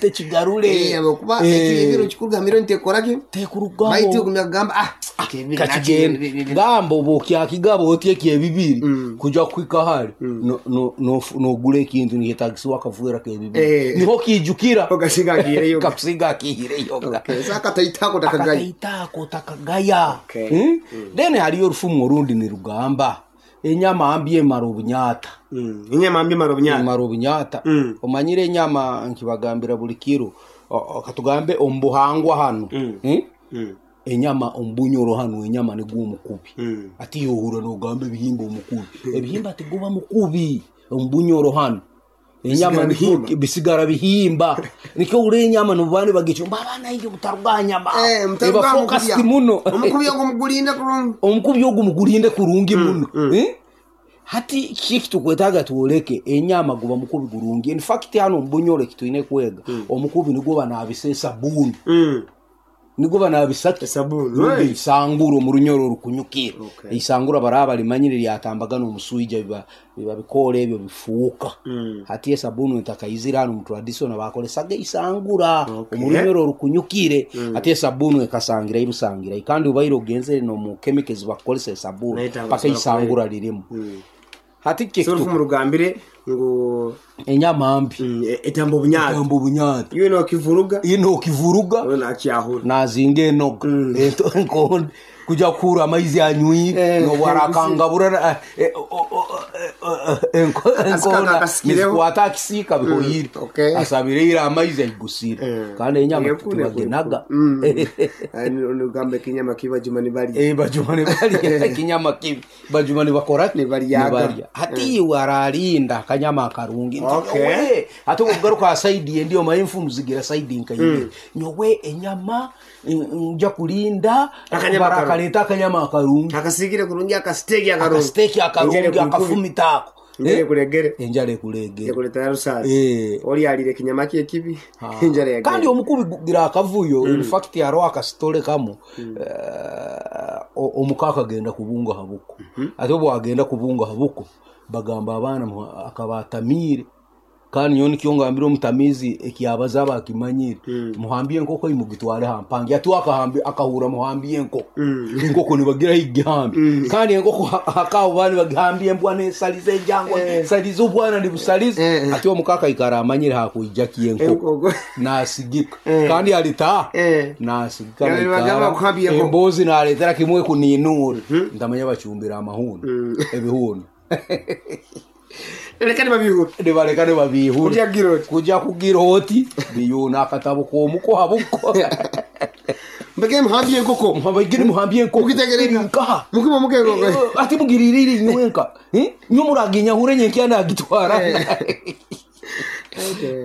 Kireete kigarure. Eh, habwokuba ekibibiri okikugambira nti tekora ki? Tekurugaho. Baitu ogumya kugamba ah ekibibiri Kakigenda. Gamba oba okyakigaba oti ekyebibiri kuja kuhika hare no- no- no- nogura ekintu nikyetagisibwa akaveera kebibiri. Niho okiijukira. Okasinga akiihireyo. Kakusinga akiihireyo. Okay, so akataito ako otakagaya. Akataito ako otakagaya. Okay. Then hariyo orufumu orundi nirugamba enyama mbi emara obunyata. Enyama mbi emara obunyata. Emara obunyata. Omanyire enyama nkibagambira buri kiro, katugambe omu buhangwa hanu, enyama omu Bunyoro hanu enyama nigwo omukubi. Hati yohurra nogamba ebihimba omukubi. Ebihimba tiguba mukubi omu Bunyoro hanu. Enyama Bisigara nikwo bihimba. bisigara bihimba. Nikyo ohurra enyama nobu nibagicumba abaana aija mutaruga aha nyama. Eh, mutaruga Eba aha focused mukubi aho. muno. Omukubi ogwo mugurinde kurungi. Omukubi ogu mugurinde kurungi muno. Eh? Hati kiki ekitukwetaaga tworeke enyama guba mukubi gurungi. In fact hanu omu Bunyoro eki twine kwega, omukubi nigwo banaabisa esabuuni. Nigwo banaabisa ki? Esabuuni. Rundi eisangura omu runyoro orukunyukire. Okay. Eisangura baraba barimanyire ryatambaga n'omuswija biba biba bikoora ebyo bifuuka. Hati esabuuni etakaizire hanu omu traditional baakoresaga eisangura Okay. omu runyoro orukunyukire. Hati esabuuni ekasangira busangira kandi obaire ogenzere n'omu chemical ezi bakukoresa esabuuni Nayo paka tabasobora eisangura ririmu. Hati kiki So ekitu orufumu rugambire ngu enyama mbi etamba obunyata. etamba obunyata. Iwe nokivuruga, Iwe nokivuruga we nakyahura. nazinga enoga ento enkondo kuja kuhura amaizi anywire nobu arakangabura enkondo akasikireho. nizikwata akisiika bihoire Okay. asabire ira amaizi aigusire kandi enyama Ekuru, ekuru, tibagenaga Nugamba ekinyama kibi bajuma nibarya. Eh, bajuma nibarya ekinyama kibi bajuma nibakora ki? Nibaryaga. Nibarya. Hati iwe ararinda akanyama akarungi nti Okay. nyowe ate obugaruka aha saidi endi omaye enfumu zigira saidi nka ibiri nyowe enyama nja kurinda Akanyama barakareeta akanyama akarungi Akasigire kurungi akasiteki akarungi. akasiteki akarungi Enjara ekukubi. akafumita ako Enjara ekuregere. Enjara ekuregere. Ekuretera rusaasi. Ori arire ekinyama kye ekibi. Enjara yagenda. Kandi omukubi gugira akavuyo in fact hariho akasitore kamwe omuka akagenda kubunga aha buko. Ati obu agenda kubunga aha buko bagamba abaana akaba atamiire kandi nyowe nikyo ngambire omutamiizi ekyabaza aba akimanyire muhambye enkoko ei mugitware aha mpangi. Ati we akahurra muhambye enkoko, enkoko nibagira ahi kugihambya kandi enkoko hakaabo baaba nibagihambya embwa nesariza enjangwa nesariza obwana nibusariza. Ati omuka akaikara amanyire hakwija ki enkoko Enkoko. nasigika kandi alitaaha nasigika Yabere naikara bagamba kuhambya enkoko. emboozi nareetera kimwe kuninuura ntamanya bacumbire amahundo ebihundo. Reka nibabihura. Nibareka nibabihura. Kuja kugira oti. Kuja kugira oti biyuuna akatabo k'omuko ha buko. Mbege muhambye enkoko. Mbagire muhambye enkoko. Mugitegere Eri nkaha. Mukiba muke enkoko. Ati mugiririre inywenka. Inywe muraginyahure nyenkya nagitwara.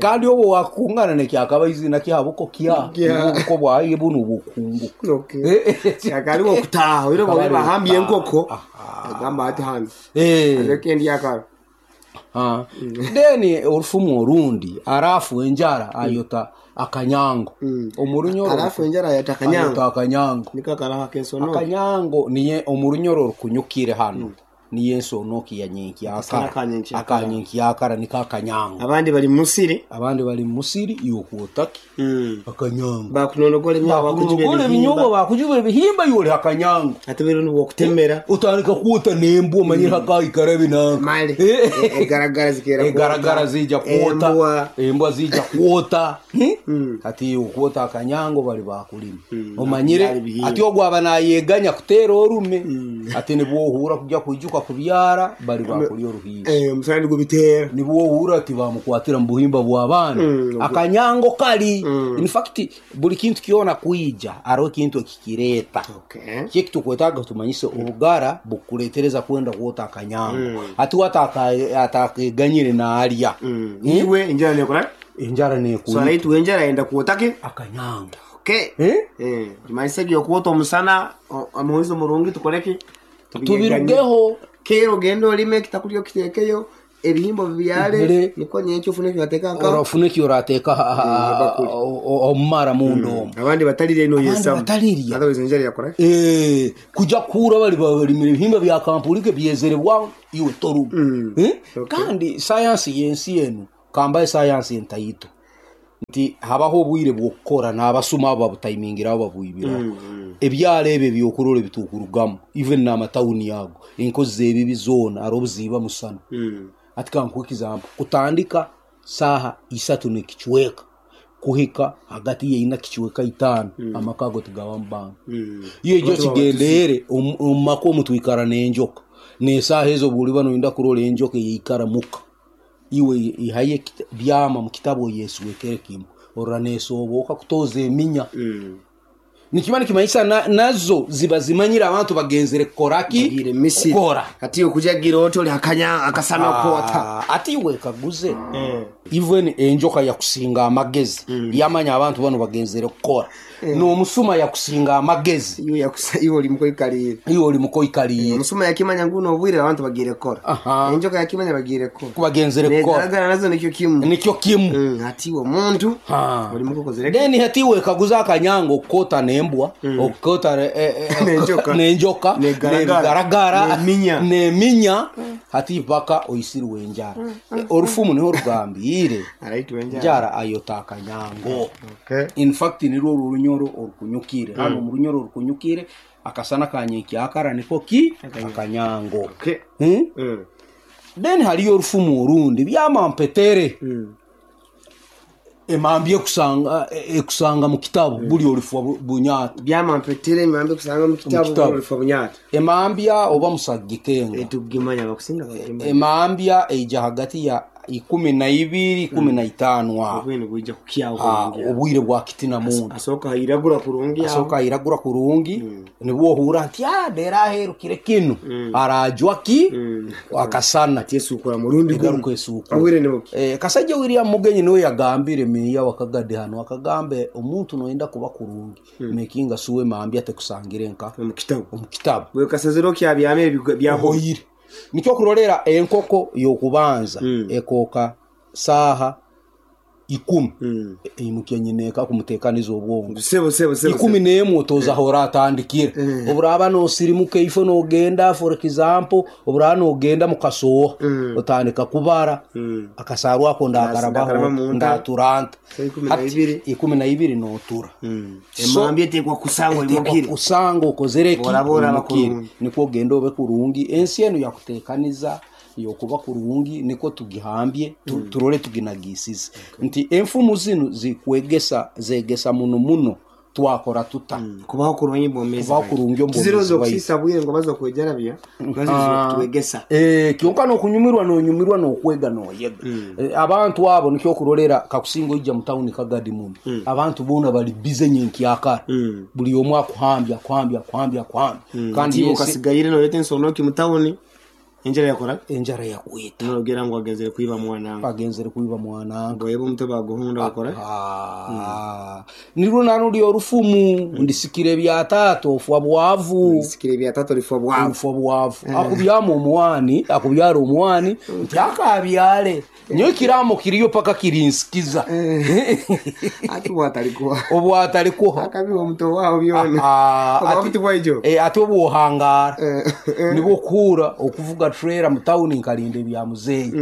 Kandi obu wakungana nekyakaba izina kya buko kya. Kya. Obuko bwaye bunu bukungu. Okay. Akariwo okutaaha oire Akaba bobe ari bahambye okutaaha. enkoko. Aha. Agamba ati hano. Aleke ndi akaro. Then orufumu orundi arafu enjara ayota akanyango. Omurunyoro Arafu enjara ayota akanyango. Ayota akanyango. Niko akaraho akensono. Akanyango niye omurunyoro orukunyukire hano. Niye ensonoki ya nyenkyakara. Akanyenkyakara. Akanyenkyakara niko akanyango. Abandi bari musiri. Abandi bari musiri iwe okwota ki? Akanyango. Bakunonogora ebinyoobwa bakujuba Bakunonogora ebihimba. ebinyoobwa bakujuba ebihimba iwe ori akanyango. Ate biro nibwokutemera. Otandika kwota n'embwa omanyire hakaikara ebinanka. Male. Egaragara zikera kwota. Egaragara ziija kwota. Embwa. Embwa ziija kwota. Hati iwe okwota akanyango bari bakurima. Omanyire Bakubyara ebihimba. ati ogwo aba nayeganya kuteera orume. Ati nibwo ohuura kujya kwijuka kubyara bari bakurya oruhiiso. Omusana nigubiteera. Nibwo ohuura ati bamukwatira mu buhimba bw'abaana. Akanyango kari. In fact buri kintu kyona kwija hariho ekintu ekikireeta. Okay. Kiki ekitukwetaaga tumanyise obugara bukureetereza kwenda kwota akanyango. Hati we atakeganyire naarya. Iwe enjara nekora? Enjara So nekuita. araitu enjara ayenda kwota ki? Akanyango. Okay. Tumanyise ebyokwota omusana omuhuzi omurungi tukore ki? Tubirugeho. Kera ogende orime ekitakurya okiteekeyo ebihimba obibyare Bire. nikwo nyenkya ofune eki orateeka nka Orafuna eki orateeka omumara munda omu. Abandi batarirya Abandi noyesamu. batarirya. Otherwise enjara yakora ki? Kuja kuhura bari barimire ebihimba bya kampurike byezere bwangu iwe toruga. Okay. Kandi sayansi y'ensi enu kambaye sayansi entaito. Nti habaho obwire bw'okukora n'abasuma abo babutaimingiraho babwibiraho. Ebyaro ebyo eby'okurora ebitukurugamu even n'amatawuni ago, enkozi z'ebibi zoona hariho obu ziiba musana. Hati kankuhe example, kutandika saaha isatu n'ekicweka kuhika hagati ya ina kicweka itaano, amaka ago tigabamu bantu. Iwe ija okigendeere omu maka omu twikara n'enjoka, n'esaaha ezo obu oriba noyenda kurora enjoka eyaikara muka. Iwe ihayo byama omu kitabu oyeswekere kimwe, orora neesoobooka kutooza eminya. Nikiba nikimanyisa nazo ziba zimanyire abantu bagenzire kukora ki? Bagiire Misiri. Kukora. Hati iwe kujagira oti ori hakanya akasana kwota. Hati iwe ekaguze, even enjoka yakusinga amagezi, yamanya abantu banu bagenzire kukora. N'omusuma yakusinga amagezi. Iwe yakusa iwe ori mukoikariire. Iwe ori mukoikariire. Omusuma yakimanya ngu n'obwire abantu bagiire kukora. Aha. Enjoka yakimanya bagiire kukora. Ku bagenzire kukora. Negaragara nazo nikyo kimu. Nikyo kimu. Hati iwe omuntu Ha. ori mukokozire ki? Then hati iwe ekaguza akanyanga okukota n'embwa, okukota N'enjoka. n'enjoka, Negaragara. n'ebigaragara, N'eminya. n'eminya, hati mpaka oisirwe enjara. Orufumu niho rugambiire. Araitwa enjara. Enjara ayota akanyango. Okay. In fact nirwo oru orunyoro orukunyukire. Hanu omu runyoro orukunyukire akasana ka nyenkyakara niko ki? Akanyango. Okay. Hmm? Then hariyo orufumu orundi byama mpetere. Emambi ekusanga ekusanga mu kitabu buri orifwa bunyata. Byama mpetere emambi ekusanga mu kitabu buri orifwa bunyata. Emambya oba musaggikenga. Etugimanya abakusinga bagimanya. Emambya eija hagati ya 12, 15 aho. Obwire nibwija kukyaho Ah, kurungi. obwire bwa kitina muntu. Asooka hairagura kurungi aho. Asooka airagura kurungi nibwo ohuura nti ah reero aherukire kinu arajwa ki akasana. Ati esukura murundi gumu. Egaruka esukura. Obwire nibuki. Kasajja William Mugenyi niwe yagambire meeya wa Kagadi hanu akagamba omuntu noyenda kuba kurungi makinga sure emambya tekusangire nka Omu kitabu. omu kitabu. Bwe kasazire okyabyama ebyo byahoire. Ohoire. Nikyo kurorera enkoko y'okubanza ekooka saaha ikumi eimukya nyina eka kumuteekaniza obwongo. Sebo sebo sebo. 11 otooza ahu oratandikira. Oburaaba noosirimuka eifo noogenda for example oburaaba noogenda mukasooha otandika kubara akasaarwa ako Ndakaraba ndakarabaho munda. ndatura nta. Saa 12. Hati 12 nootura. So, Emambi eteekwa kusangwa oimukire. kusanga okozere ki? Oraba oraba Oimukire. kurungi. Nikwo ogenda obe kurungi. Ensi enu yakuteekaniza yokuba kurungi nikwo tugihambye turole tuginagisize. Nti enfumu zinu zikwegesa zegesa muno muno twakora tuta. Kubaho kurungi bwomezi. Kubaho kurungi omu bwomezi Tiziroza bwaitu. okusisa bwire ngo baza kwejarabya. Baza kutwegesa. Kyonka n'okunyumirwa n'onyumirwa n'okwega n'oyega. Abantu abo nikyo okurorera kakusinga oija mu tawuni Kagadi muno. Abantu boona bari bize nyenkyakara. Buri omwe akuhambya akuhambya akuhambya akuhambya. Kandi Kandi ensi ukasigaire noleta ensonoki mu tawuni. Enjara yakora enjara yakwita. Nogera ngu agenzere kwiba mwana. Agenzere kwiba mwana. Ngo yebo omutwe baguhunda bakora. Ah, nirwo naruri orufumu ndisikire ebya taata ofwa bwavu. Ndisikire ebya taata orifwa bwavu. Ofwa bwavu. Akubyama omwani, akubyara omwani nti akabyare. Nyowe ekiraamo kiriyo paka kirinsikiza. Ati obwatarikuha. Obwatarikuha. Akabiha omuto waho byona. Ah, Obwavu ati tibwaijo. ati obwohangaara nibwo okuhuura okuvuga trailer mu tawuni nkarinda ebya muzeeyi.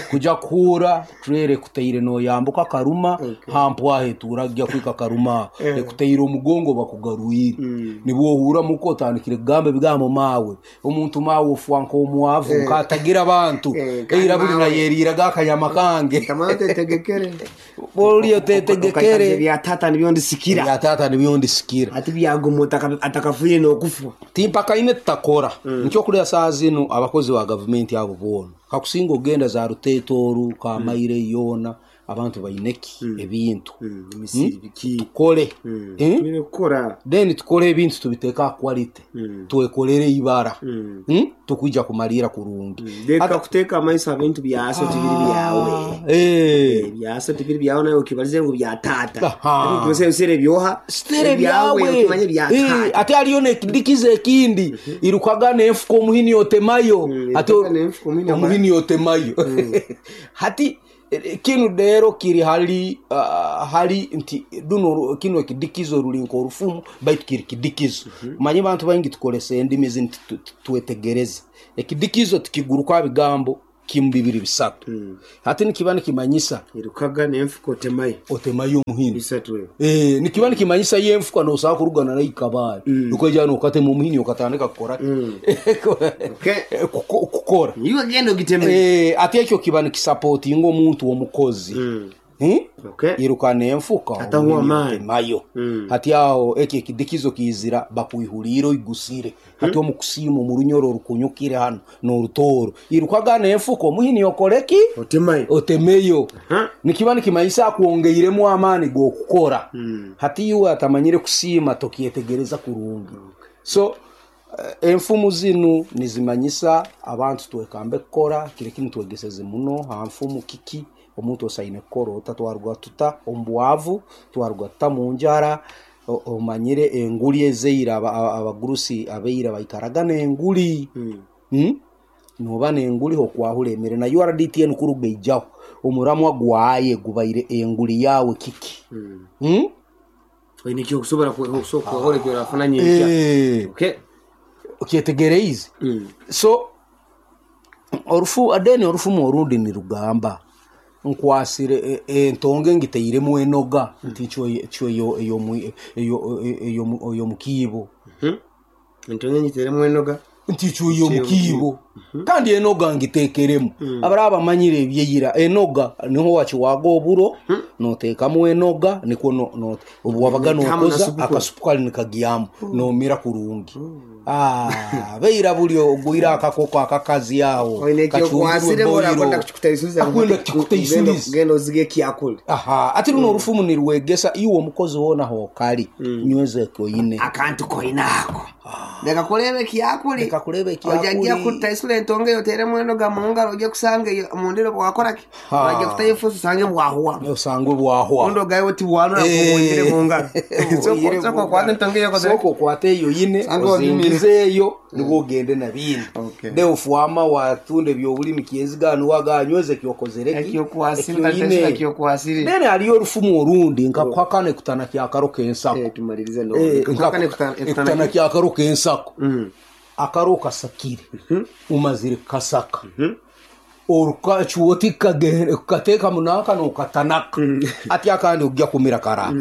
Kuja kuhuura trailer ekuteire noyambuka Karuma hampwaho etuura kugya kuhika Karuma aho. Ekuteire omugongo bakugarwire. Nibwo ohuura muka otandikire kugamba ebigambo maawe. Omuntu maawe ofwa nk'omwavu nk'atagira abantu. Kandi Eira buri maawe. nayeriiraga akanyama kange. Tamara otetegekere. Bori Okaikaza otetegekere. ebya taata nibyo ndisikira. Ebya taata nibyo ndisikira. Ati byaguma atakafiire n'okufa. Timpakaine tutakora. Nikyo kurya saaha zinu abakozi ba gavumenti abo boona. Kakusinga ogenda za Ruteete oru, Kamaire yoona, abantu baine ki? Ebintu. Emisiri biki? Tukore. Twine kukora. Then tukore ebintu tubiteeke aha quality. Twekorere eibara. Tukwija kumariira kurungi. Leka kuteeka amaiso aha bintu byaso tibiri byawe. Byaso tibiri byawe nawe okibarize ngu bya taata. Aha. Ebyo ebyoha. Sitere byawe. Okimanye bya taata. Ate hariyo n'ekidikizo ekindi. Irukaga n'enfuka omuhini otemayo. Ate Irukaga n'enfuka omuhini omuhini otemayo. Hati kinu rero kiri hali hali nti duno kinu ekidikizo ruri nk'orufumu baitu kiri kidikizo. Manye bantu baingi tukoresa endimi ezi nti twetegereza. Ekidikizo tikiguruka bigambo. Kimu bibiri bisatu. Hati nikiba nikimanyisa. Irukaga n'enfuka otemayo. Otemayo omuhini. Bisatu ebyo. Eh, nikiba nikimanyisa yo enfuka nosobola kuruga na nayo Kabale. Okaija nokatema omuhini okatandika kukora ki? Okay. Kukora. Iwe genda ogitemeyo. Eh, ati ekyo kiba nikisapotinga omuntu omukozi. Hmm? Okay. Iruka n'enfuka Atahwa omuhini amaani. otemayo. Hati aho ekyo ekidikizo kiizira bakwihuriire oigusire. Hati omu kusiima omu runyoro orukunyukire hanu n'orutooro. Irukaga n'enfuka omuhini okore ki? Otemayo. Otemeyo. Aha. Nikiba nikimanyisa akwongeiremu amaani g'okukora. Hati iwe atamanyire kusiima tokyetegereza kurungi. So enfumu zinu nizimanyisa abantu twekambe kukora, kiri kinu twegeseze muno ha nfumu kiki omuntu osaine kukora ota twaruga tuta omu bwavu, twaruga tuta mu njara, omanyire enguli ezeira abagurusi abeira baikaraga n'enguli. Noba n'enguli okwahura emere na URDTN kuruga eijaho omuramwa gwaye gubaire enguli yawe kiki. Oine ekyokusobora kwehora eki orafuna nyenkya. Okay. Okyetegereize? So orufu then orufumu orundi nirugamba nkwasire entonge ngiteiremu enoga nti cwe ey'omukiibo. Entonge ngiteiremu enoga. Nti cwe ey'omukiibo kandi enoga ngiteekeremu. Abaraba bamanyire ebyeira enoga niho wakiwaga oburo noteekamu enoga nikwo obu wabaga nokoza akasupu kali nikagyamu nomira kurungi. Beira buli ogwire akakoko akakazi aho Oine ekyokwasire kacumbirwe orakwenda boiro. kukikutaisuliza Akwenda kukikutaisuliza. genda ozige ekyakuli. Aha, ati runo orufumu nirwegesa iwe omukozi woona hokali nyweza ekyoine. Akantu koine ako. Leka kureeba ekyakuli. Leka kureeba ekyakuli. Ojagira kutaisula entonge eyo oteremu enoga mu ngaro ojye kusanga eyo mundiro bwakora ki? Ha. Orajya kutayo efuusi osange bwahwa. Osangwe bwahwa. Ondi ogaye oti bwanura bwongere mu ngaro. Sooka okwate entonge eyo okozere. Sooka okwate eyo yine Sange wagimire. ozingize eyo nibwo ogende na bindi. Okay. De ofwama watunda ebyobulimi kyenzigano waganyweza ekyokozere ki? Ekyokwasire Ekyoine. kutaisula ekyokwasire. Then hariyo orufumu orundi nkakuhakana ekutana kyakaro k'ensako. Tumalirize no. Ekutana kyakaro k'ensako. Akaro kasakire. Umazire kukasaka. Orukacuwa kukateeka munanka nokatanaka. Ati akandi ojja kumira kara.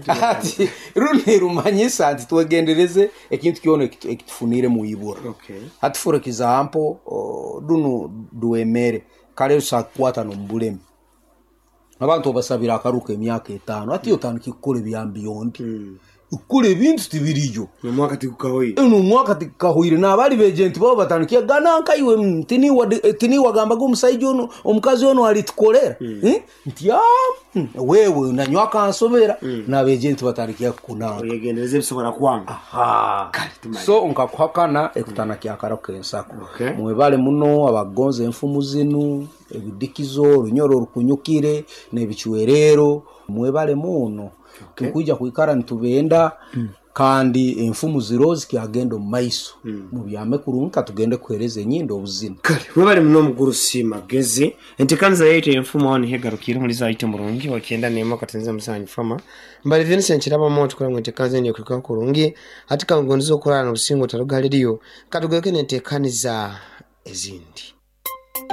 Ati runi rumanyisa nti twegendereze ekintu kyona ekitufunire mu ibura. Okay. Hati for example, runo rwemere kare rusakukwata n'omubulemi. Abantu obasabira akaruka emyaka etaano ati otandike kukora ebya beyond. Kukora ebintu tibiriyo. Nomwaka tigukahoire. Nomwaka tikahoire n'abali begenti babo batandike gana nkaiwe tiniwagambaga omusaija ono omukazi ono alitukorera. Nti wewe nanywa akansobera n'abegenti batandike kukunanga. Oyegendereze ebisobora kwanga. Aha. So nkakuhakana ekutana kyakaro k'ensako. Okay. Mwebale muno abagonza enfumu zinu ebidikizo orunyoro orukunyukire n'ebicwerero mwebale muno. Tukwija kwikara nitubenda kandi enfumu ziro zikyagenda omu maiso. Mubyame kurungi katugende kuhereza enyindo obuzina. Kale webale muno omugurusi Magezi. Enteekaniza yaitu enfumu aho niho egarukire muri zaitu murungi wakyenda neema katenze musanyu fama. Mbali Vincent Kirabamo tukora ngu enteekaniza eno ekurukaho kurungi hati kangondeza okurara n'obusingo otaruga ririyo katugaruke n'enteekaniza ezindi.